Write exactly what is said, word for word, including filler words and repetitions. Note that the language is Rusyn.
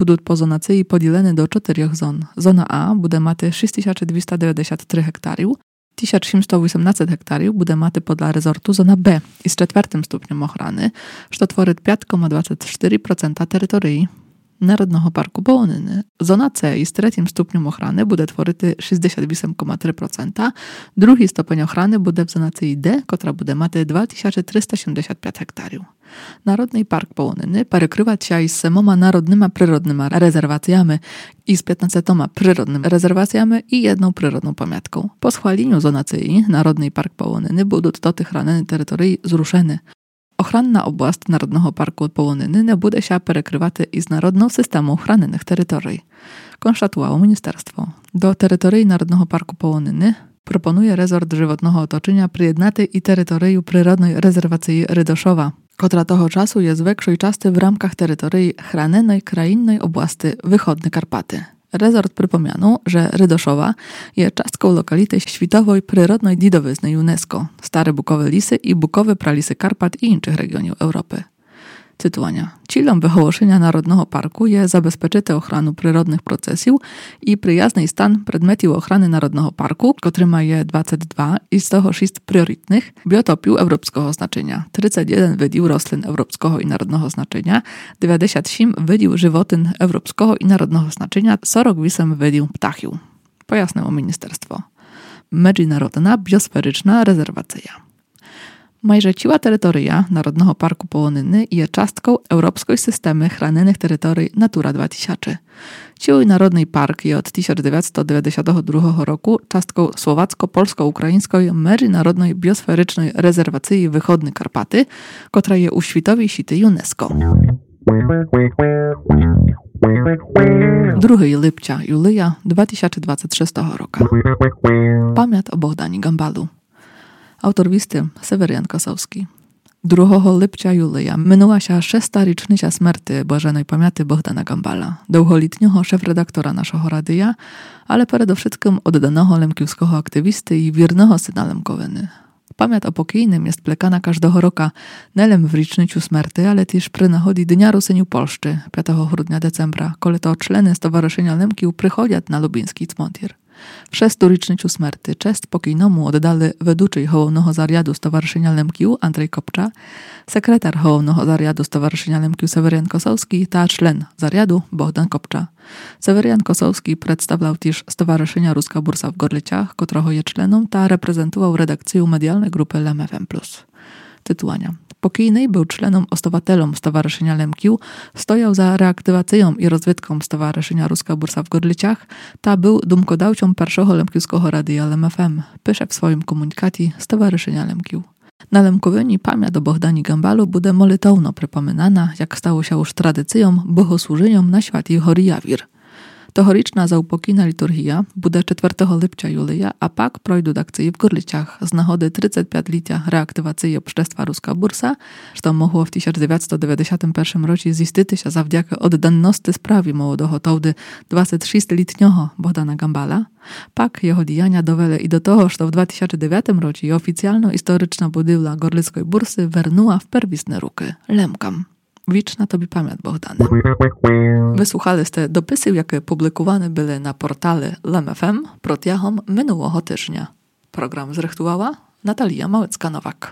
Будуть по зонациі поділены до чотырьох зон. Зона А буде мати шість тисяч двіста девятдесят три гектарів, тисяч сімсто вісімнадцять гектарів буде мати подля резорту зона Б із четвертым ступнем охраны, што творить пять кома двадцять чотыри процента території Народного парку Полонины. Зона С із третім ступнем охраны буде творити шістдесят вісім кома три процента. Другый ступень охраны буде в зонациі Д, котра буде мати два тисячі триста сімдесят пять гектарів. Народный парк Полонины перекрывать ся із семома народныма природныма резервациями, із пятнадцятьма природныма резервациями і єднов природнов памятков. По схваліню зонациі Народный парк Полонины будуть тоты хранены території зрушены. Охранна область Народного парку Полонины не буде ся перекрывати із народнов системов храненых територій, конштатувало міністерство. До території Народного парку Полонины пропонує резорт животного оточыня приєднати і територію природной резервациі Ридошова, котра того часу є з векшой части в рамках території храненой країнной области Выходны Карпаты. Резорт припомянув, же Ридошова є частков локаліты світовой природной дідовизны ЮНЕСКО, Старе Букове лісы і Букове пралісы Карпат і іншых реґіонів Европы. Цитуваня. Цілом выголошыня Народного парку є забезпечыти охрану природных процесів і приязный стан предметів охраны Народного парку, котрыма є двадцять два, із того шість пріоритных, біотопів европского значыня, тридцять єден видів рослин европского і народного значыня, девятдесят сім видів животин европского і народного значыня, сорок вісім видів птахів, пояснило міністерство. Меджінародна біосферична резервация. Майже ціла територія Народного парку Полонины є частков европской системы храненых територій Натура два тисячі. Цілый Народный парк є од тисяч девятсто девятдесятого другого року частков Словацько-польско-україньской меджінародной біосферичной резервациі Выходны Карпаты, котра є у світовій сіти ЮНЕСКО. Другый липця Юлия два тисячі двадцять шестого рока. Памят о Богдані Ґамбалу. Автор вісти Северян Косовскій. Другого липця Юлия минула ся шеста річниця смерти блаженой памяти Богдана Ґамбала, довголітнього шеф-редактора нашого радия, але передовшыткым одданого лемківского активісты і вірного сына Лемковины. Памят о покійным є сплекана каждого рока, не лем в річницю смерти, але тіж при нагоді Дня Русинів Польщы, пятого грудня, децембра, коли то члены Стоварышыня Лемків приходят на Лубіньскій цмонтір. В шесту річницю смерти чест покійному оддали ведучый Головного заряду Стоварышыня Лемків Андрей Копча, секретар Головного заряду Стоварышыня Лемків Северян Косовскій та член заряду Богдан Копча. Северян Косовскій представляв тіж Стоварышыня Руска Бурса в Ґорлицях, котрого є членом, та репрезентував редакцию медіалной ґрупы Лем ФМ плюс. Цитуваня. Покійный был членом-основательом Стоварышыня Лемків, стояв за реактивацийом і розвитком Стоварышыня Руска Бурса в Ґорлицях та был думкодавцьом першого лемківского радия Лем ФМ, пише в своім комунікаті Стоварышыня Лемків. На Лемковині памят о Богдані Ґамбалу буде молитовно припоминана, як стало ся уж традицийом, богослужыньом на святій горі Явір. Тогорічна заупокійна літургія буде четвертого липця Юлия, а пак пройдут акциі в Ґорлицях з нагоды тридцятьпятьлітя реактивациі общества Руска Бурса, што могло в тисяч девятсто девятдесятым першым році зістити ся завдякы одданности справі молодого товды двадцятьшістьлітнього Богдана Ґамбала. Пак його діяня довели і до того, што в два тисячі девятым році офіціално історична будівля Ґорлицькой бурсы вернула в первісны рукы Лемкам. Вічна тобі памят, Богдане. Выслухали сте дописів, якы публикуваны были на портале Лем ФМ протягом минулого тыжня. Програм зрыхтувала Наталія Малицька-Новак.